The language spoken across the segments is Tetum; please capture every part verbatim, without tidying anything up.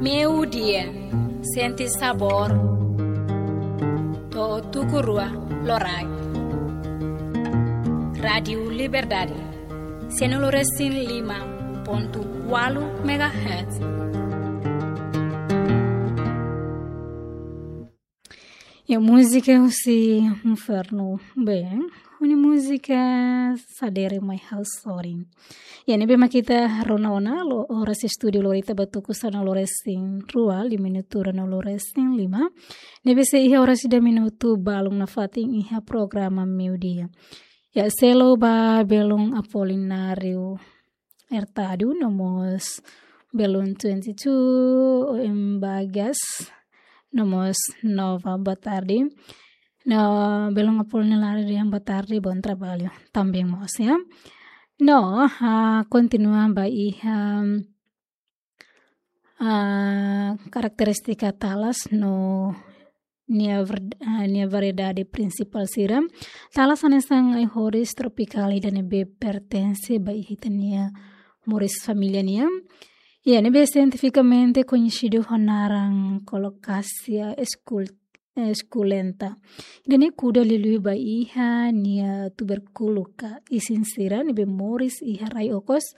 Meio-dia, sente sabor. To'o tuku rua loraik. Rádio Liberdade, cento e cinco e cinco ponto quatro megahertz. Ya, múzika husi infernu. Bem, ne'e múzika sadere mai ha'u sorin. Ya, ne'ebé mak ita rona ona, lo, oras estúdiu lori ita ba tuku sanulu-resin-rua, liu minutu ruanulu-resin-lima. Ne'ebé sei iha oras ida minutu balun nafatin iha programa meio-dia. Ya, selu ba belun Apolinário Hurtado, no mós belun twenty-two, em Bagas, no mós Nova, boa tarde. No, belun Apolinário, boa tarde, bom trabalho. Também mós, ya. No, ah, kontinua ba iha, ah, karakterístika talas no nia ver-, ah, nia variedade prinsipál sira. Talas hanesan ai-horis tropikál ida ne'ebé pertense ba ita-nia moris família nian. Ya, ne'ebé sientifikamente koñesidu ho naran Colocasia escul-, eh, esculenta. Ida-ne'e kuda liuliu ba iha nia tubérkulu ka isin sira ne'ebé moris iha rai okos.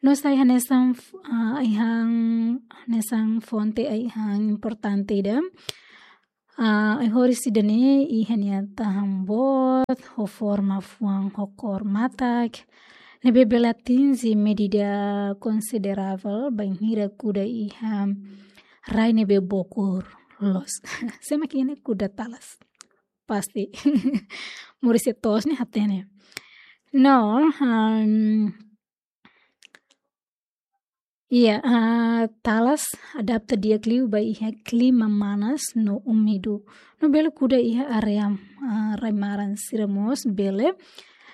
No sai hanesan f-, ah, ai-han, hanesan fonte ai-han importante ida. Ah, ai-horis ida-ne'e iha nia tahan boot, ho forma fuan ho kór matak. Ne'ebé bele atinje medida konsideravel bainhira kuda iha rai ne'ebé bokur loos. Sé mak iha ne'e kuda talas. Pasti. Moris iha to'os ne'e hatene. No, um, ya, ah, talas adapta di'ak liu ba iha klima manas no úmidu. No bele kuda iha área, ah, rai-maran sira mós bele.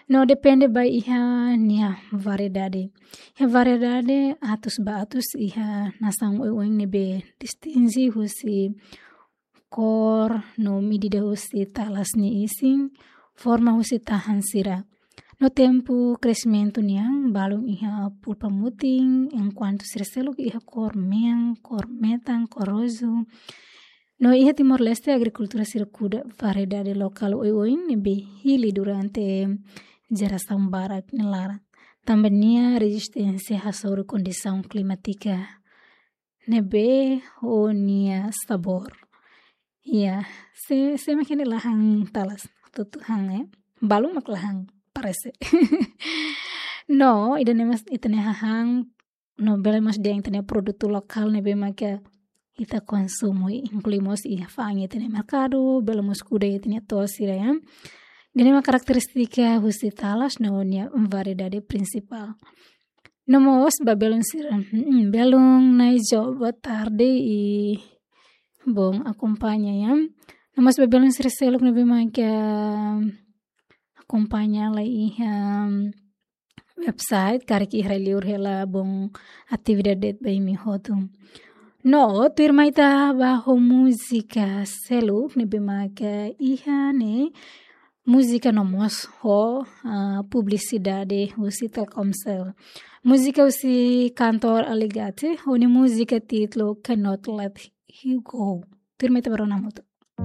No depende ba iha nia variedade. Iha variedade atus ba atus iha nasaun oioin ne'ebé distinje husi kór no medida husi talas nia isin, forma husi tahan sira. No tempu kresimentu nian, balun iha pulpa mutin, enkuantu sira seluk iha kór mean, kór metan, kór rozu. No iha Timor-Leste, agrikultór sira kuda variedade lokál oioin ne'ebé hili durante jerasaun barak nia laran. Tanba nia rezisténsia hasoru kondisaun klimátika ne'ebé ho nia sabór. Ya, sé, sé mak iha ne'e la han talas, tutu han, eh. Balun mak la han, parese. No, ida-ne'e mós ita-nia hahán, no bele mós dehan ita-nia produtu lokál ne'ebé mak ita konsumu, inklui mós iha fa'an ita-nia merkadu, bele mós kuda ita-nia to'os sira, ya. Ida-ne'e mak karakterístika husi talas no nia variedade prinsipál. No mós ba belun sira. Mm, belun Naijo, boa tarde i bom akompaña, ya. No mós ba belun sira seluk ne'ebé mak akompaña lai iha website, karik iha rai-liur hela, bom atividade ba imi hotu. No, tuirmai ita ba ho múzika seluk ne'ebé mak iha ne'e, múzika no mós ho, ah, publisidade husi Telkomcel. Múzika husi kantór Aly Gatti, ho nia múzika títulu Cannot Let You Go. Tuirmai ita ba rona hamutuk.